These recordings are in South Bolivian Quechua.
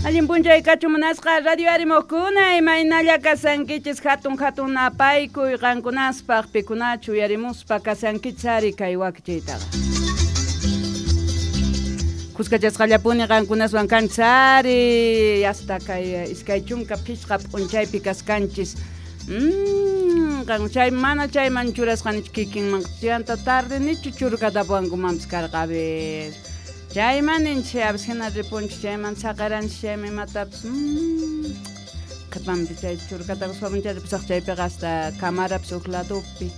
Allin p'unchay kachun munasqa radio arimuqkuna imaynalla kasankichis hatun hatun napaykuy qankunaspaq pikunachu uyarimuspa kasankichis ari kay wakichiytaqa. Kuskachasqallapuni qankunaswan kanchis ari hasta kay 25 p'unchaypi kaskanchis. Chay mana chayman churasqanichu kikinman chayanta tarde nichu churkatapuwankumanpis karqa a ver. Chayman ninchis a veces hina ripunchis chayman saqaranchis chayman imatapis qhipanpi chay churkatakuspa ripusaq chaypiqa hasta camarapis huk ladopi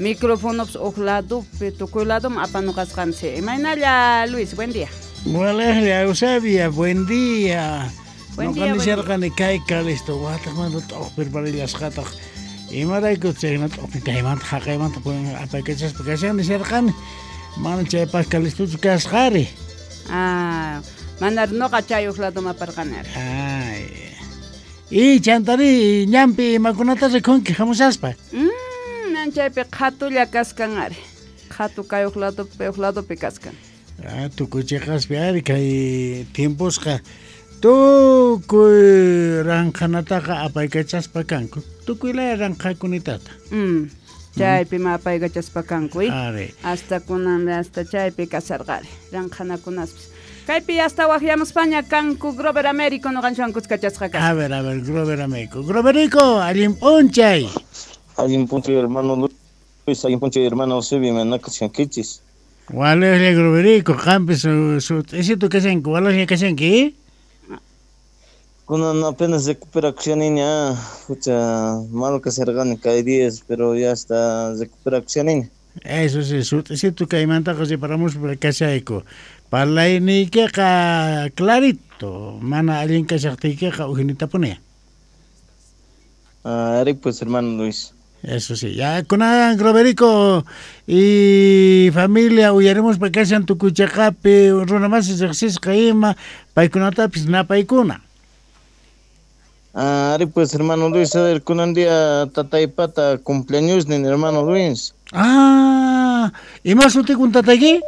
microfonopis huk ladopi tukuy ladoman apanuqasqanchis. Imaynalla Luis, buen día. Walejlla Eusebia, buen día. Noqa nisharqani kay Calisto wataqmanta t'uqpirparillasqataq imarayku chayna t'uqpi kaymanta haqaymanta apaykachaspa kashan nisharqani mana chaypaq Calistochu kasqari. Ah, mana noqa chay huk ladoman aparqani. Ay. Y chantari ñanpi imakunata rikunki hamushaspa. Nan chaypi qhatulla kaskan ari. Qhatu kay huk ladopi kaskan. Ah, tukuy chiqaspi ari kay tiemposqa tukuy ranqhanataqa apaykachaspa kanku. Tukuy laya ranqhakunitata. Chaypi ma apaykachaspa kanku, Ari. Hasta kunan hasta chaypi kasarqari ranqhanakunaspis. Kaypi hasta waqyamuspaña kanku Grover Américo noqanchwan kuskachasqa kasqa. A ver, Grover Américo. Groverico, allin p'unchay. Allin p'unchay hermano Luis, allin p'unchay hermano Eusebio, manakashankichis. Walejlla Groverico, qampis sut'isitu kashanki, walejlla kashanki. Kunan apenas recuperakushaniña, hucha mal kasharqani kay días, pero ya está recuperakushaniña. Eso sí, sut'isitu kaymantaqa riparamuspa kashayku. Parlayniykiqa clarito, mana allin kashaqtiykiqa ujinitapuni. Ari pues hermano Luis. Eso sí, ya kunan Groverico y familia uyarimuspa kashan tukuy chaqapi runa masi riqsisqa ima paykunatapis napaykuna. Ari pues hermano Luis, a ver, kunan día tataypata cumpleaños nin hermano Luis. Ah, ¿ima sutikun tatayki?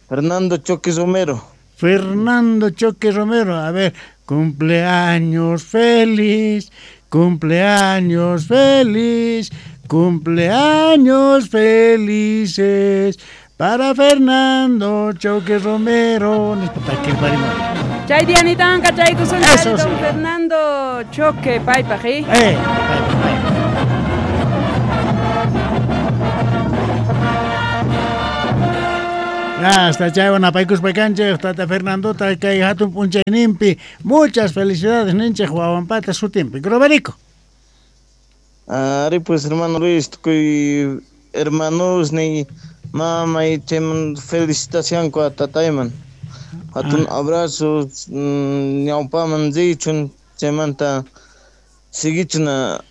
Fernando Choque Romero. Fernando Choque Romero, a ver, cumpleaños feliz, cumpleaños feliz, cumpleaños felices para Fernando Choque Romero. Chay dianitan kachaykusun don sí. Fernando Choque paypaq, ¿eh? Paypaq. Hasta chaywan apaykuspa kanchik tata Fernandota kay hatun p'unchayninpi. Muchas felicidades ninchik wawanpata sutinpi. Groverico. Ari pues hermano Luis, tukuy hermanos ni mama y chayman felicitación a tatayman. Hatun abrazo ñawpaman richun chaymanta siguichuna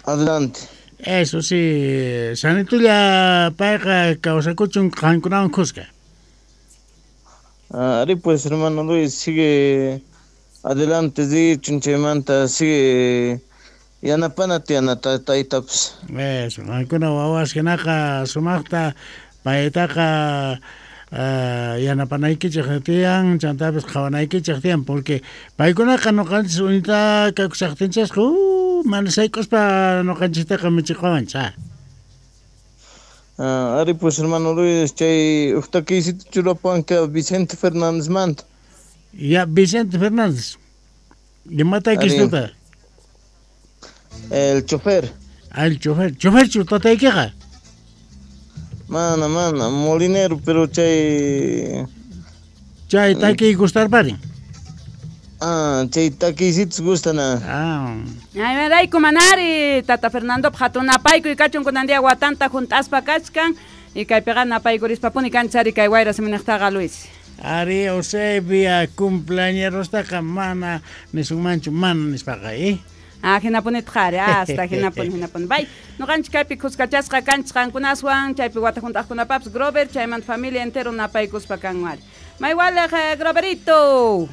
adelante. Eso sí, sanitulla payqa kawsakuchun qankunawan kuska. Ari pues hermano Luis, sigue adelante richun chaymanta sigue yanapana tiyana taytapis. Eso, qankuna wawas hinaqa sumaqta paytaqa yanapanaykichik tiyan, chantapis qhawanaykichik tiyan, porque paykunaqa noqanchis unita kakushaqtinchasqa mana sayk'uspa noqanchistaqa michiqawanchis. Ari pues hermano Luis, chay uqtakisita churapanka Vicente Fernández manta. Ya, Vicente Fernández. ¿Imata kistuta? El chofer. Ah, el chofer. ¿Chofer chu tataykiqa? Mana, molinero, pero chay... Chay takiy gustarparin. Ah, chay takiysitas gustana. Ah. Ay, manari, tata Fernando hatun napaykuy kachun kunan día watanta junt'aspa kachkan y kaypiqa napaykurispa-puni kanchis ari kay wayra siminaqtaqa Luis. Ari Eusebia cumpleañerostaqa mana nisunmanchu mana nispaqa, ¿eh? Ah, hinapunitaq ari, hasta hinapun. Bay, noqanchik kaypi kuskachasqa kanchis qankunaswan, chaypi wata junt'aqkunapapis Grover, chaymanta familia entero napaykuspa kanku ari. Maywalej, Groverito.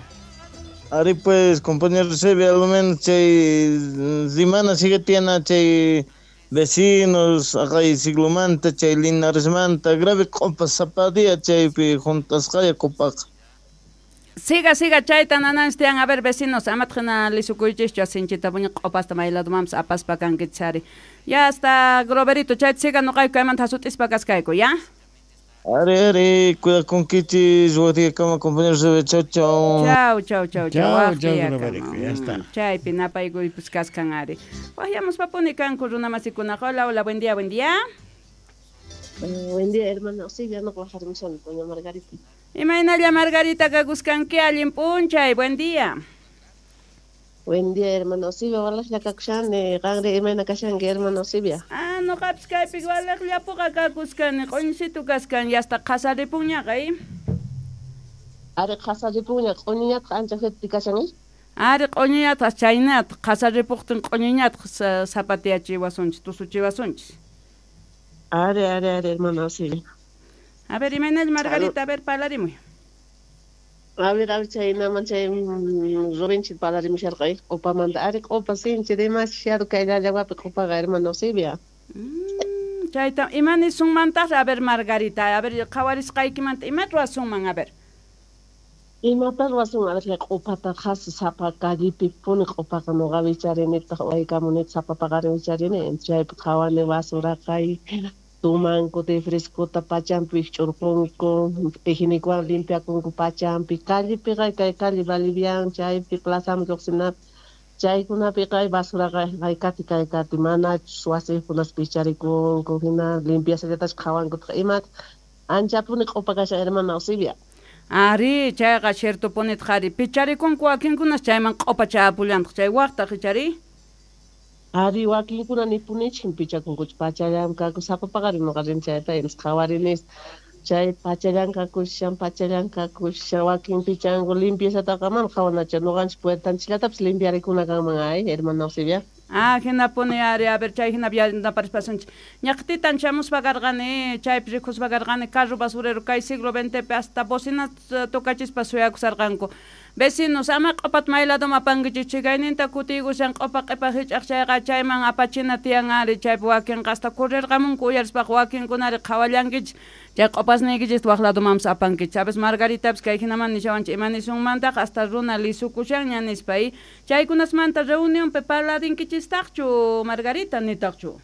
Ari pues, compañero Eusebio, al menos chay rimana sigue tiene chay vecinos, acá siglomanta, chay Linaresmanta, grave compa zapadilla chaypi juntasqaya copaqa. Siga, siga, chayta nananstian. A ver, vecinos, amatjina lisukuychischu sinchita puña q'opasta mayladumanpas apaspa kankichari. Ya hasta Groverito, chayta siga noqayku kaymanta hasut'ispa kaskayku, ya? Ari, ari, cuidakunkichis, waqtiyakama compañeros de chau, chau. Chau, chau, chau, chau. Chau, chau, ya está. Chaypi napaykuypis kaskan ari. Waqyamuspapuni kanku runamasikunaqa. Hola, hola, buen día, buen día. Buen día, hermana Eusebia, no bajaremos doña Margarita. Imaynalla Margarita kakuskanki allin p'unchay, buen día. Buen día, hermana Eusebia, walaqlla kakushani, qanri imayna kashanki, hermana Eusebia? Ah, noqapis kaypi walaqllapuqa kakuskani, q'uñisitu kaskan, yasta qhasaripunñaqa, eh? Ari qhasaripunña, q'uñiñataq ancha fuerte kashan, eh? Ari q'uñiñataq chaynataq, qhasaripuqtin q'uñiñataq zapatiyachiwasunchis, tusuchiwasunchis. Ari, ari, ari, hermana Eusebia. A ver, imaynalla Margarita, a ver, parlarimuy. A ver, chaynaman chay Rubinchik parlarimusharqa, q'upamanta. Ari q'upa sinchi demasiado kay llallawapi q'upaqa, hermana Eusebia. Chayta, ima nisunmantaq, a ver, Margarita, a ver, qhawarisqaykimanta, ima ruwasunman, a ver. Imata ruwasun, a ver, chay q'upata qhasi sapa callepi puni q'upaqa noqa wicharinitaq waykamunitaq sapa paqarin wicharini, chaypi qhawani basuraqay, tumanku de frescota pachampi wikch'urqunku, higienicowan limpiakunku pachampi, callepiqa kay calle Bolivian, chaypi plazaman lluqsinapi, chaykunapiqa basuraqa haykati kaykati manachus wasiykunas picharikunku, hina limpiasallatachu qhawankutaq imata anchapuni q'upa kashan, hermana Eusebia. Ari, chayqa ciertopunitaq ari, picharikunku wakinkunas chayman q'upa chayapullantaq, chay waqtaq ichari. Ari wakinkuna nipunichik pichakunkuchu pachallam kaku sapa paqarin noqa rin chayta qhawarinis chay pachallan kakushan pachallan kakushan wakin pichanku limpiezataqa mana qhawanachu noqanchik puertanchikllatapis limpiarikuna kanman ay hermana Eusebia. Ah, hinapuni ari, a ver, chay hina naparispasunchik. Ñaqtitan chamuspa karqani, chaypi rikuspa karqani, carro basurero kay siglo XX hasta bocina tocachispa suyakusarqanku. Vecinos, ama q'upat mayladuma apankichik, chikayninta kutiykushan q'upa q'ipa hich'aq chayqa chayman apachina tiyan ari, chaypi wakinqa hasta correrqamunku uyarispaqa wakinkunari qhawallankichik, chay q'upasniykichik waq ladumanpas apankichik. A veces Margaritapis kay hinaman nishawanchik, ima nisunmantaq hasta runa lisukushanña nispa, chaykunasmanta reunionpi parladinkichistaqchu Margarita nitaqchu?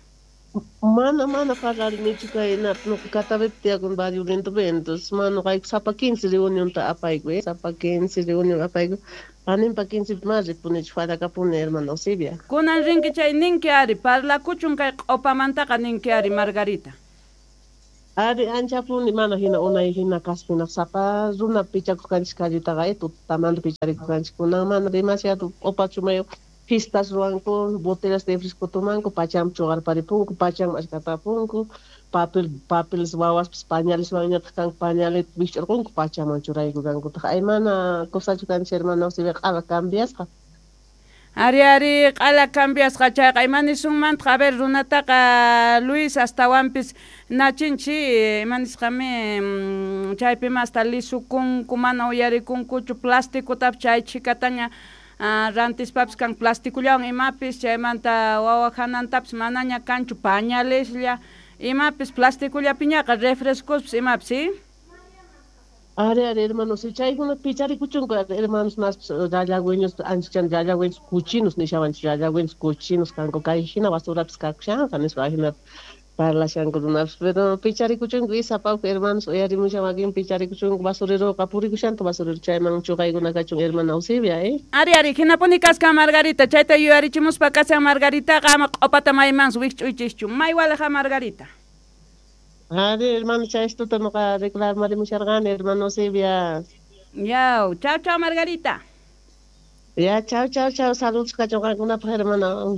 Mana, mana parlarinichu kay noqa Catavepi tiyakun barrio Lindopi, entonces mana noqayku sapa 15 reunionta apayku, sapa 15 reunión apayku, paninpa 15 mana ripunichu falakapuni, hermana Eusebia. Kunan rinki chay ninki ari, parlakuchun kay q'upamantaqa ninki ari, Margarita. Ari anchapuni mana hina unay hina kaspinaq sapa runa pichakuq kanchik calletaqa, tutamanta picharikuq kanchik, kunan mana demasiado q'upa chumayu. Fiestas ruwanku, botellas de fresco tomanku, pacham chuqarparipunku, pacham achkatapunku, papeles wawaspis pañales wañataq kanku, pañales wikch'urqunku, pachaman churayku kankutaq. Ay mana cosachu kanchik, hermana Eusebia, q'ala cambiasqa. Ari, ari, q'ala cambiasqa chayqa, ima nisunmantaq, a ver, runataqa Luis astawanpis nachinchi, ima nisqami, chaypima hasta lisukunku, mana uyarikunkuchu, plasticotapis chay chhikataña rantispapis kan plastikullawan imapis, chaymanta wawa hanantapis manaña kanchu pañaleslla, imapis plastikullapiñaqa refrescospis imapis, ¿sí? Ari, ari, hermanos, chaykuna picharikuchunku, hermanos, naspis llallagüeños, anchachan llallagüeños cochinos, nishawanchik llallagüeños cochinos kanku, kay hina basurapis kakushanqa nispa, hina parlashanku runapis, pero picharikuchunku isapawku, hermanos, uyarimushan wakin picharikuchunku basureroqa purikushanta basurero chayman chuqaykuna kachun, hermana Eusebia, Ari, ari, hinapuni kaskan Margarita, chayta yuyarichimuspa kashan Margaritaqa, ama q'upata maymansi wikch'uychischu, maywalaqa Margarita. Ari, hermano, chaystuta noqa reclamarimusharqani, hermana Eusebia. Yaw, chao, chao, Margarita. Ya, chao, chao, chao, saludos kachun qankunapaq, hermana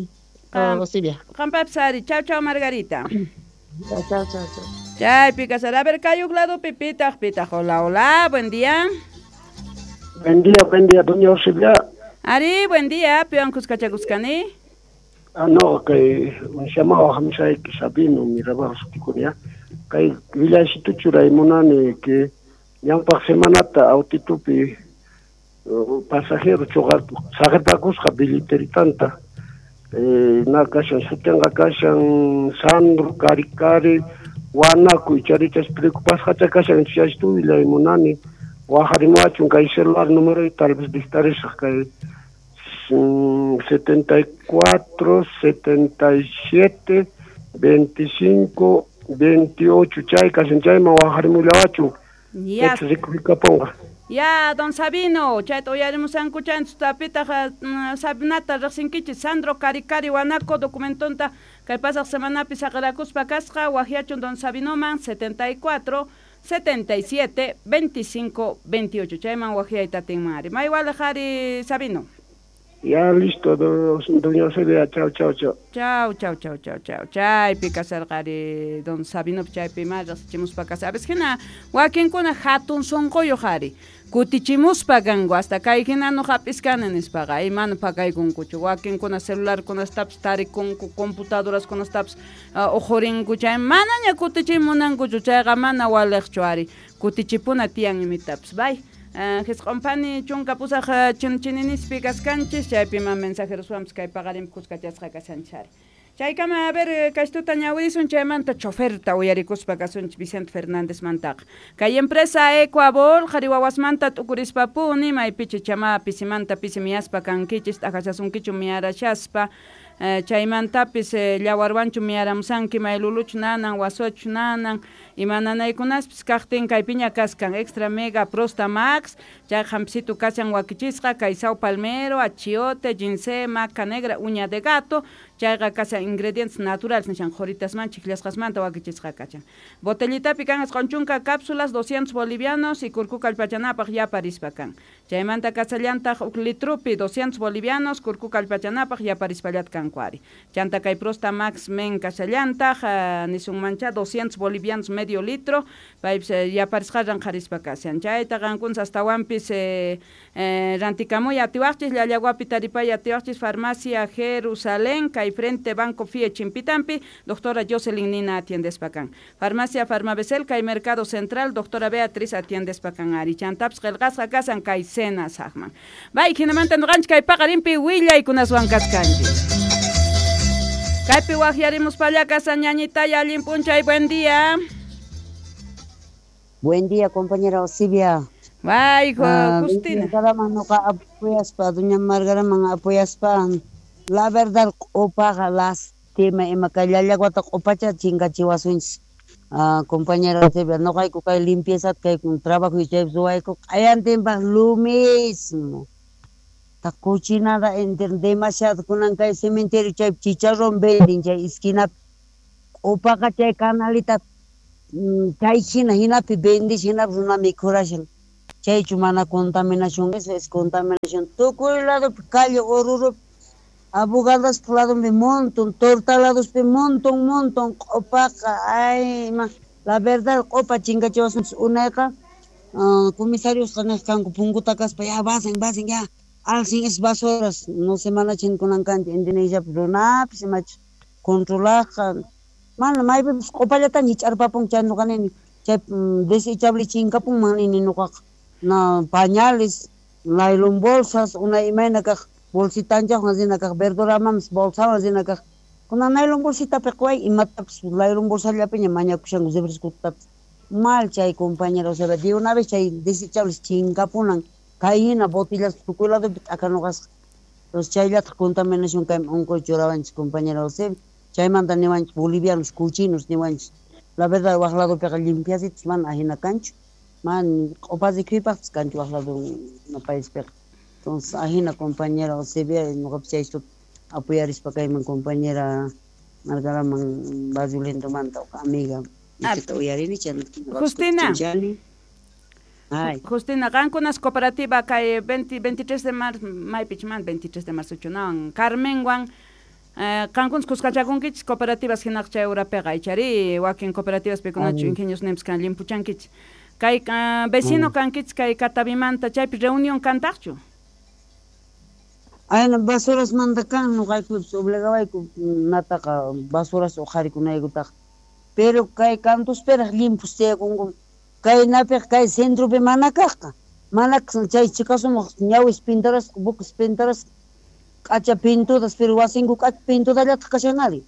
Eusebia. Qampapis ari, chao, chao, Margarita. Chao, chao, chao, chao. Chaypi kasar, a ver, kayuk ladopi pitaq, pitaq, hola, hola, buen día. Buen día, doña Eusebia. Ari, buen día, piwan kuskachakuskani. Ah, no, kay llamado hamsayki Sabino, Mirabal sutikunia. Kay willasituchu churaymunani que ñawpaq semanata autitupi pasajero chuqarpu saqirpakusqa billeteritanta. Na kashan sutinqa kashan Sandro Karikari Wanaku icharichas preocupasqacha kashan chaystu willaymunani Wajarimuwachun kay celular número tal vez dictarisaq kay 74 77 25 28 chay kashan chayman wajarimullawachun. Ya. Rikukaponqa. Ya, don Sabino, chayta uyarimusanku chanchis tapitaq Sabinata riqsinkichis Sandro Karikari Wanaco documentonta kay pasaq semanapi saqirakuspa kasqa wajyachun don Sabinoman 74 77 25 28 chayman wajyayta atinman ari. May waliq ari Sabino. Ya, listo, doña Eusebia, chao, chao, chao. Chao, chao, chao, chao, chao. Chaypi kasarqa ari don Sabino chaypi ma riqsichimuspa kasa. A veces hina wakinkuna hatun sunquyuq ari. Kutichimuspa kanku hasta kay hina no hap'iskani nispaqa imana pakaykunkuchu. Wakinkuna celularkunastapis tarikunku, computadoraskunastapis uqurinku chay manaña kutichimunankuchu chayqa mana waliqchu ari. Kutichipuna tiyan imitapis. Bye. Jisq'unpani chunka pusaq chinchinispi kaskanchis chaypiman mensajeroswanpis kay paqarinpi kuskachasqa kashanchis ari. Chaykama a ver kaystuta ñawirisun chaymanta choferta uyarikuspa kasunchis Vicente Fernández mantaqa. Kay empresa Ecuabol qhari wawasmanta t'ukurispapuni maypichi chama pisimanta pisi miyaspa kankichis t'aqashasunkichu miyarashaspa chaymantapis llawarwanchu miyaramusanki mayluluchu nanan wasuchu nanan ima nanaykunaspis kaqtin kaypiña kaskan extra mega prosta max chay hampisitu kashan wakichisqa kay sao palmero achiote ginseng maca negra uña de gato chayqa kashan ingredientes naturales nishan qhuritasman chikllasqasmanta wakichisqa kashan botellitapi kan isqun chunka cápsulas 200 bolivianos y kurku kallpachanapaq yaparispa kan chaymanta kasallantaq uk litrupi 200 bolivianos kurku kallpachanapaq yaparispallat kanku ari chanta kay prosta max men kasallantaq nisunmancha 200 bolivianos medio litro paypis yaparisqarran qharispa kashan chayta qankunas astawanpis rantikamuy atiwaqchis llallawapi taripay atiwaqchis farmacia Jerusalén kay frente Banco Fie Chimpitampi doctora Jocelyn Nina atiendespa kan farmacia Farmabesel kay Mercado Central doctora Beatriz atiendespa kan ari chantapis qillqasqa kasan kay cena saqman bay hinamanta nuqanchik kay paqarinpi willaykunaswan kaskanchis kaypi waqyarimuspalla kasan ñañitaya allin p'unchay buen día. Buen día, compañera Eusebia. Bay, Justina. Nuqa apoyaspa, doña Margaraman apoyaspa. La verdad, q'upaqa lastima ima kay llallaguata q'upacha chinkachiwasunchis. Compañera Eusebia, nuqayku kay limpieza kay trabajo chaypi ruwayku q'ayantinpaq lo mismo. Ta cochinada demasiado kunan kay cementerio chaypi chicharrón venden chay esquinapi. Q'upaqa chay canalita chay hina hinapi vendish hinapi runa mikhurashan. Chaychu mana contaminación, eso es contaminación. Tukuy ladopi calle Oruropi abogadaspa ladonpi montón, torta ladospi montón, montón, q'upaqa, ay, ma, la verdad q'upa chinkachiwasunchis unayqa comisariosqa niq kanku punkuta kaspa ya vasen, vasen, ya alcen esas basuras, no se manachin kunan kanchik Indonesiapi runapis imachu controlaqqa mana maypipis q'upallataña hich'arpapunku chay nuqa nini chay desechable chinkapunman nini nuqaqa na pañales, nylon bolsas, una imayna kaq bolsitanchaqwan rina kaq verduramampis bolsawan rina kaq kunan nylon bolsitapi quway imatapis nylon bolsallapiña mañakushanku refrescotapis mal chay compañero, o sea, de una vez chay desechables chinkapunan kay hina botellas tukuy ladopi t'akanuqasqa. Entonces chayllataq contaminación kaymi unquy churawanchis compañero Eusebio. Chaymanta niwanchis bolivianos cochinos niwanchis. La verdad waq ladopiqa limpiacitos mana ajina kanchu. Man q'upa rikhuypaqpis kanchu waq lado paispiqa. Entonces ajina compañera Eusebia nuqapis chaystuta apoyarispa kayman compañera Margaraman Barrio Lindomanta amiga. Uyarini Justina. Ay. Justina, qankunas cooperativa kay 23 de marzo, maypichman 23 de marzo chunawan Carmenwan qankunas kuskachakunkichis cooperativas hinaq chay urapiqa ichari wakin cooperativas pikunachu ingenios nimpis kan limpuchankichis kay vecino kankichis kay Catavimanta chaypi reunión kantaqchu. Ayna basuras manta kan nuqaykupis obligawayku nataqa basuras uqharikunaykutaqa pero kay kantuspiraq limpus tiyakunku kay napiq kay centropi mana kaqqa mana chay chikasumaq ñawis pintarasqa buques pintarasqa k'acha pintudas pero wasinku k'acha pintudallataq kashanari.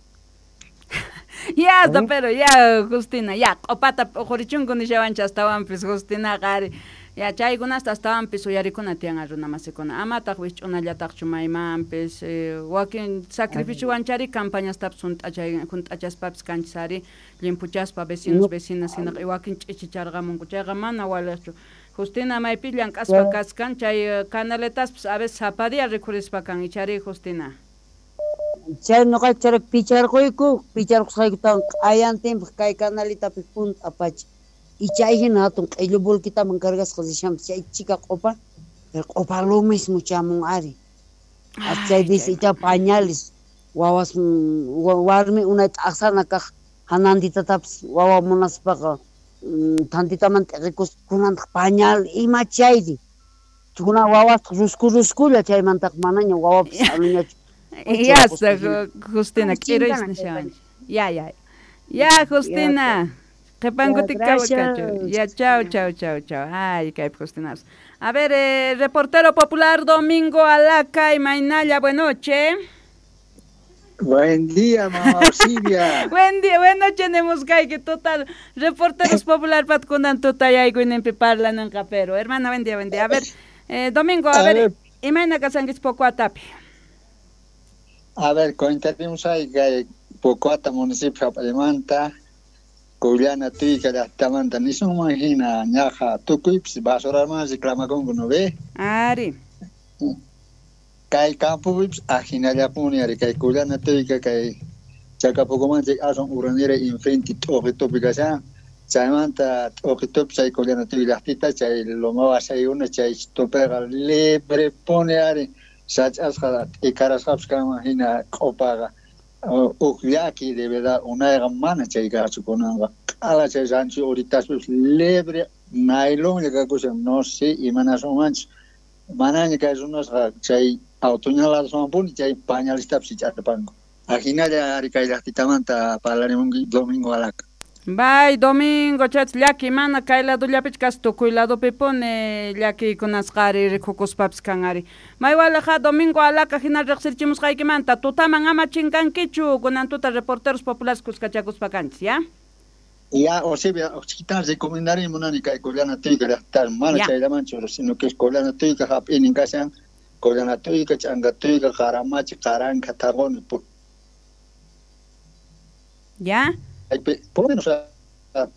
Ya, pero ya Justina, ya q'upata p'uqurichunku nishawanchis astawanpis Justinaqa ari. Ya chaykunasta astawanpis uyarikuna tiyan runa masikuna. Amataq wisch'unallataqchu maymanpis wakin sacrificiowan chari campañastapis junt'achaspapis kanchis ari llimpuchaspa vecinos vecinas hinaqa wakin ch'ichicharqamunku chayqa mana waliqchu. Justina maypi llank'aspa kaskan chay canaletaspis a veces sapa día rikhurispa kan ichari Justina. Chay noqayku chayri picharquyku, picharqusqaykutawan q'ayantinpaq kay canalitapi junt'apacha. Y chay hina hatun q'illu volquitaman cargasqa rishanpis chay chika q'upa, pero q'upa lo mismo chamun ari. Chay dice icha pañales wawas warmi unay t'aqsana kaq hanantitatapis wawa munaspaqa tantitaman t'iqikuspa kunantaq pañal ima chayri. Kunan wawasqa rusku ruskulla chaymantaqa manaña wawapis aluñachu. Ya, Justina, quiero Ya, ya. Ya, Justina. Ya, chao, chao, chao, chao. Ay, kay Justina. A ver, reportero popular Domingo Alaca y Mainaya, buenas noches. Buen día, mamá Silvia. Buen día, buenas noches, tenemos que total. Reporteros popular patkunan tutayaykuynimpi parlananqa, pero hermana, buen día, buen día. A ver, Domingo, a ver, imayna kasankichik Pocoatapi. A ver, contaremos ahí que Pocoata municipio hap'aymanta, Collana Tuyka llaqtamanta, nisunman hina ñaqa tukuypis basuraman reclamakunku, ¿no ve? Ari. Kay campopipis ajinallapuni ari, kay Collana Tuyka, kay Chacapocomanchik aswan uranira enfrente t'uqitupi kashan, chaymanta t'uqitupi chay Collana Tuyka llaqtita, chay loma wasaykuna, chay tupiqa librepuni ari. Sach'asqa t'ikarasqapis kanman hina q'upaqa uq llaki de verdad unayqa mana chay kaqchu kunanqa q'ala chay rancho uritaspis libre nailonlla kakushan no sé imanasunmanchus manaña kay runasqa chay autoñaladaswanpuni chay pañalistapis ich'arpanku ajinalla ari kay llaqtitamanta parlarimunki Domingo Alaca. Bay Domingo chat llaki mana kay ladollapichu kas tukuy ladopipuni llakiykunasqa ari rikukuspapis kan ari. Maywalaqa Domingo Alaca hina riqsirichimusqaykimanta tutaman ama chinkankichu kunan tuta reporteros populares kuskachakuspa kanchis, ya? Ya, Osibia, chiquitan recomendaría munani kay Collana Tuyka llaqtar mana chayllamanchu, sino que es Collana Tuyka hap'inin kashan, Collana Tuyka, Ch'anka Tuyka, Qaramachi, Qaranka, Taqoni. Ya? Por lo menos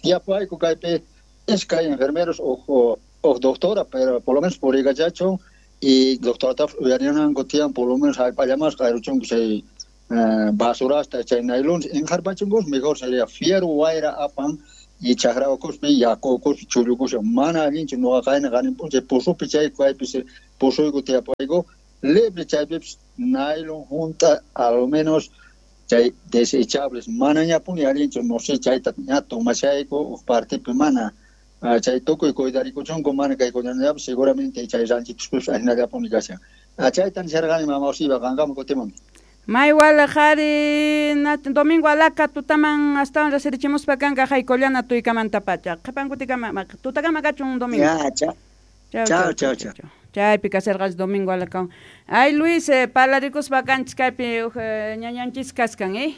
tiapuayku kaypi iskay enfermeros o doctora, pero por lo menos por igachacho y doctora uyarinanku tiyan por lo menos hallp'allamasqa ayruchunku chay basurasta chay nylons injarpachunkus mejor sería fiero wayra apan y chakra ukuspi yaku ukuspi chullukusha mana allinchu nuqa qayna qaninpun chay pusupi chay kaypi pusuyku tiapuayku libre chaypipis nylon junta a lo menos chay desechables manañapuni allinchu no sé chayta ña tomashayku uq partipi mana chay tukuy cuidarikuchunku mana kay cuidanallapis seguramente chay ranchituspis ajinallapuni kashan chayta nisharqani mama Osiba qanqaman kutimunki. Maywala qhari Domingo Alaca tutaman astawan rasirichimuspa kanka hay Collana Tuykamanta pacha qhipankutikama tutakama kachun Domingo. Ya, chao. Chao, chao, chao. Chaypi kasarqas Domingo Alaca. Ay Luis, parlarikuspa kanchis kaypi ñañanchis kaskan, eh?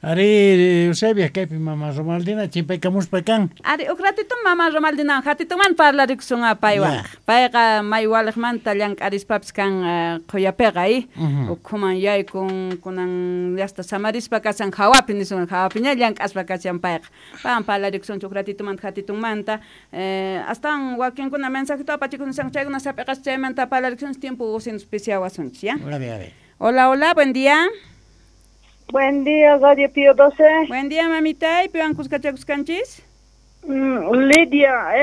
Ari, Eusebia, kaypi mama Romaldina chimpaykamuspa kan. Ari, uq ratito mama Romaldina hatituman parlarikusun paywan. Payqa maywaliqmanta llank'arispapis kan qhuyapiqa, eh? Ukhuman yaykun kunan llaqta samarispa kasan hawapi nisun hawapiña llank'aspa kashan payqa. Paywan parlarikusun uq ratitumanta hatitunmanta. Astawan wakinkuna mensajito apachikusun chaykuna sap'iqas chaymanta parlarikusun tiempo usinus pisiawasunchis, ya? Ari, ari. Hola, hola, buen día. Buen día, Radio Pío 12. Buen día, mamita. ¿Y piwan kuskachakuskanchis? Lidia,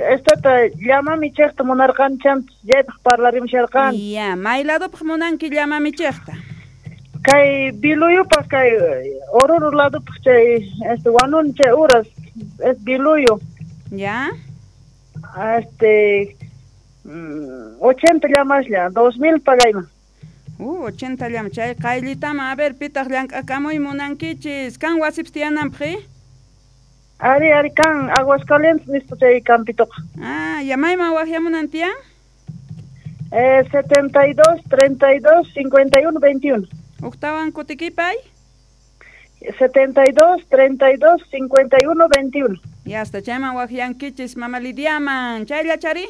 estata llamamichejta munarqancham, yaypaq parlarimusharqan. Ya, mayladopaq munanki llamamichejta? Kay Biluyupaq, kay Oruro ladopaq chay, wanun chay uras, es Biluyo. Ya. 80 llamaslla, 2000 pagayman. 80 llama chay qayllitama a ver pitaq llank'akamuy munankichis kan wasipis tiyananpaq. Ari ari kan Aguascalientes nispa chay campitoqa. Ah, ya mayman waqyamunan tiyan? 72 32 51 21. Uqtawan kutikipay? 72 32 51 21. Ya está, chayman waqyankichis mama Lidiaman. Chaylla chari?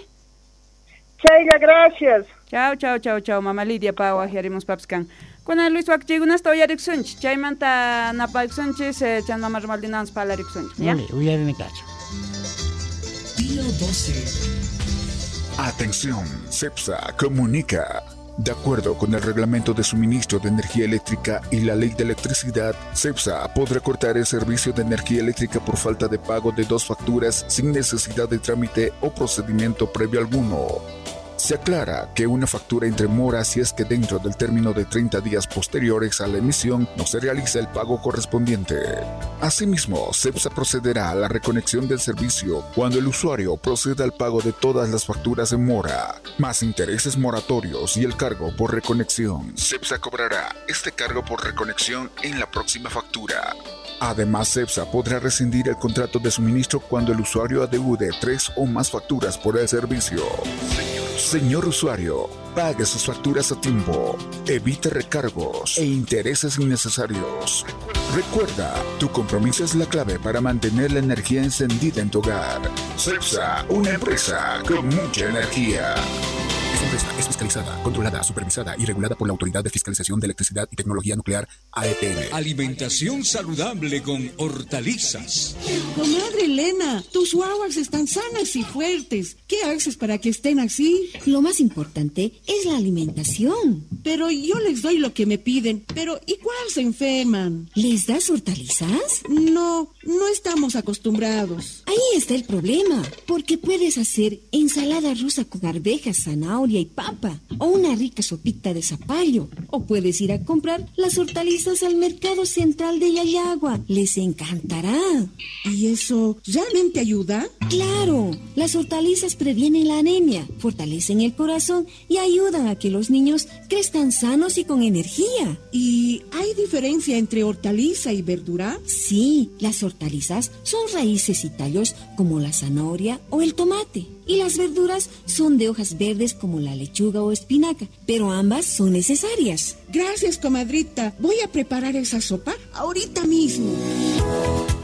Chaylla, gracias. Chau, chau, chau, chau, mama Lidia pa waqyarimuspapas kan. Kunan Luis wakchiykunasta uyarikusunchik, chaymanta napaykusunchis, chan mama Romaldinawan parlarikusunchik, ya? Uyarinikachu. Día 12. Atención, CEPSA comunica. De acuerdo con el reglamento de suministro de energía eléctrica y la ley de electricidad, CEPSA podrá cortar el servicio de energía eléctrica por falta de pago de 2 facturas sin necesidad de trámite o procedimiento previo alguno. Se aclara que una factura entre mora si es que dentro del término de 30 días posteriores a la emisión no se realiza el pago correspondiente. Asimismo, CEPSA procederá a la reconexión del servicio cuando el usuario proceda al pago de todas las facturas en mora, más intereses moratorios y el cargo por reconexión. CEPSA cobrará este cargo por reconexión en la próxima factura. Además, CEPSA podrá rescindir el contrato de suministro cuando el usuario adeude 3 o más facturas por el servicio. Señor usuario, pague sus facturas a tiempo, evite recargos e intereses innecesarios. Recuerda, tu compromiso es la clave para mantener la energía encendida en tu hogar. CEPSA, una empresa con mucha energía. Esta empresa es fiscalizada, controlada, supervisada y regulada por la Autoridad de Fiscalización de Electricidad y Tecnología Nuclear, AETN. Alimentación saludable con hortalizas. Comadre Elena, tus guaguas están sanas y fuertes. ¿Qué haces para que estén así? Lo más importante es la alimentación. Pero yo les doy lo que me piden. Pero igual se enferman. ¿Les das hortalizas? No, no estamos acostumbrados. Ahí está el problema, porque puedes hacer ensalada rusa con arvejas, zanahoria y papa, o una rica sopita de zapallo, o puedes ir a comprar las hortalizas al mercado central de Llallagua. Les encantará. ¿Y eso realmente ayuda? ¡Claro! Las hortalizas previenen la anemia, fortalecen el corazón y ayudan a que los niños crezcan sanos y con energía. ¿Y hay diferencia entre hortaliza y verdura? Sí, las hortalizas son raíces y tallos como la zanahoria o el tomate. Y las verduras son de hojas verdes como la lechuga o espinaca, pero ambas son necesarias. Gracias, comadrita. Voy a preparar esa sopa ahorita mismo.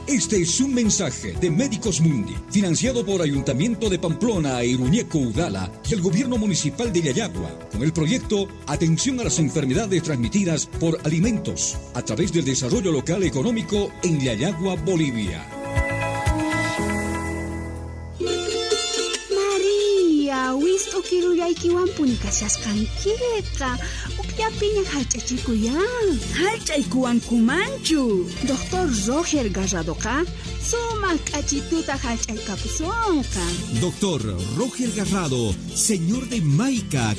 Este es un mensaje de Médicos Mundi, financiado por Ayuntamiento de Pamplona e Iruñeco Udala y el Gobierno Municipal de Llallagua, con el proyecto Atención a las Enfermedades Transmitidas por Alimentos, a través del Desarrollo Local Económico en Llallagua, Bolivia. María, wist'ukirullaykiwanpuni kashasqankiqa. Ukllapiña hallch'achikuyan. Hallch'aykuwankumanchu. Doctor Roger Garradoqa sumaq k'achituta hallch'aykapusunqa. Doctor Roger Garrado, señor de Maica,